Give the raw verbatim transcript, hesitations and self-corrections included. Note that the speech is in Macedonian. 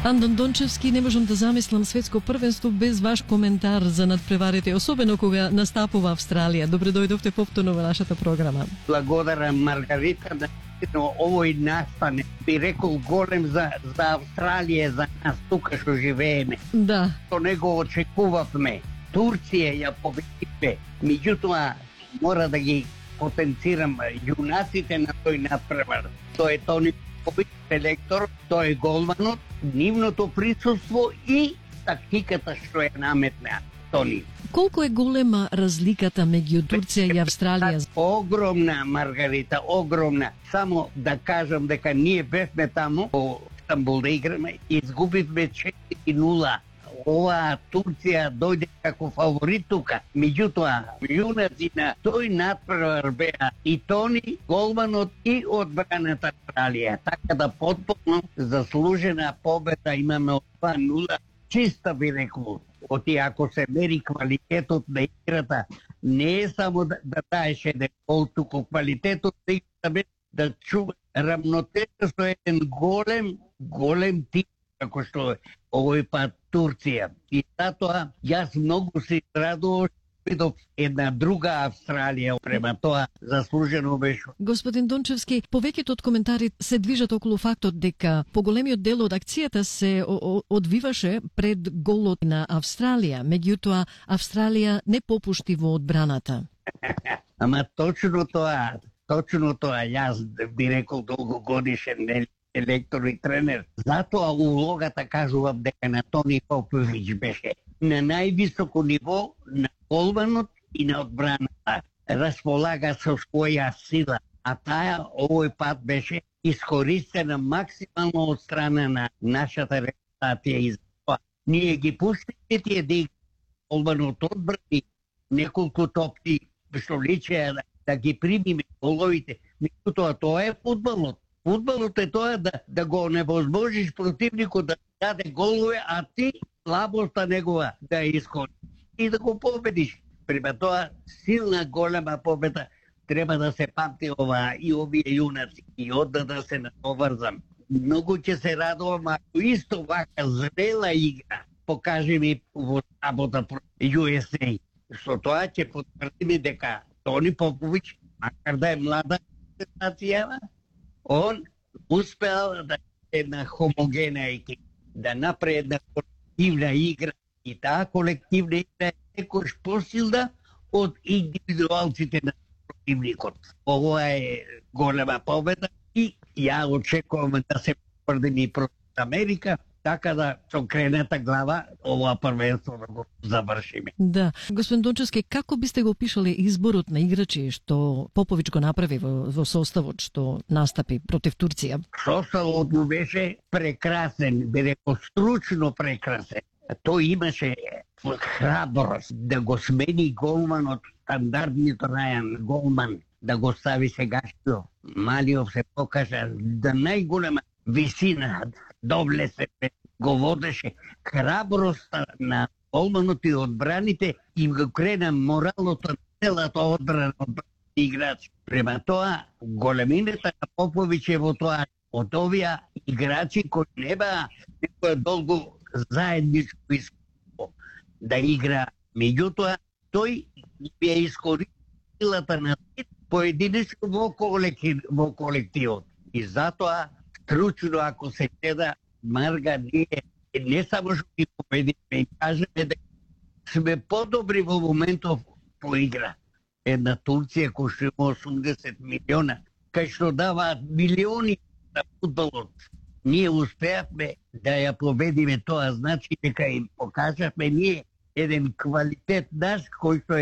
Андон Дончевски, не можам да замислам светско првенство без ваш коментар за надпреварите, особено кога настапува Австралија. Добре дојдовте повторно во нашата програма. Благодарам, Маргарита, да овој настане би рекол голем за, за Австралија, за нас тука што живееме. Да. Тоа не го очекувавме. Турција ја победивме, меѓутоа мора да ги потенцирам јунаците на тој надпревар. Тоа е Тони Попович, селектор, тој е голманот, нивното присуство и тактиката што ја наметна Тони. Колку е голема разликата меѓу Турција и Австралија? Огромна, Маргарита, огромна. Само да кажам дека ние бевме таму во Стамбул да играме и изгубивме четири нула. Ова Турција дојде како фаворит тука. Меѓутоа, јунаци на тој надпревар беа и Тони, голманот и одбраната Австралија. Така да потполно заслужена победа имаме од два нула. Чиста би рекол. Оти ако се мери квалитетот на играта, не е само да, да даеш еден гол, туку квалитетот на играта да чува рамнотежа со еден голем, голем тим, како што овој пат Турција. И затоа јас многу се радував видов една друга Австралија, према тоа заслужено беше. Господин Дончевски, повеќето од коментари се движат околу фактот дека поголемиот дел од акцијата се одвиваше пред голот на Австралија, меѓутоа Австралија не попушти во одбраната. Ама точно тоа, точно тоа, јас би рекол долгогодишен селектор и тренер. Затоа улогата кажувам дека на Тони Попович беше на највисоко ниво на голманот и на одбраната. Располага со своја сила, а таа овој пат беше искористена максимално од страна на нашата репутација и затоа ние ги пуштивме тие да играат. Голманот одбрани неколку топки што личеа да, да ги примиме головите. Меѓутоа тоа е фудбалот. Фудбалот е тоа да, да го невозможиш противникот да даде голове, а ти слабоста негова да ја искористиш и да го победиш. Према тоа силна голема победа треба да се памти ова и овие јунаци и одда да се натоврзам. Многу ќе се радувам ако исто вака зрела игра покаже ми во работа про Ю Ес Ей. Со тоа ќе потврдиме дека Тони Попович, макар да е млада нација, он успеал да е една хомогена екипа, да направи една колективна игра и таа колективна игра е некош посилна од индивидуалците на противникот. Ова е голема победа и ја очекувам да се потврди против Америка, така да со крената глава ова првенство да го завршиме. Да. Господин Дончевски, како бисте го опишале изборот на играчи што Попович го направи во, во составот што настапи против Турција? Составот му беше прекрасен, би рекол стручно прекрасен. Тој имаше храброст да го смени голманот, стандардниот рајан голман, да го стави сегашниот. Малиов се покажа да најголема висина, доблесе, го водеше. Храброста на голманот и одбраните им го крена моралното на целата одбрана од играч. Према тоа, големината на Попович е во тоа, од овие играчи кои не беа некоја долго заедничко искуство да игра. Меѓутоа, тој ја искористи силата на поединечно во колектив, во колективот. И затоа, стручно ако се гледа, Марга, ние не само што ги победиме, кажеме дека сме подобри во моментов по игра. Една Турција која што има осумдесет милиона, кај што даваат милиони на фудбалот. Ние успеавме да ја победиме, тоа значи дека им покажавме ние еден квалитет наш кој што е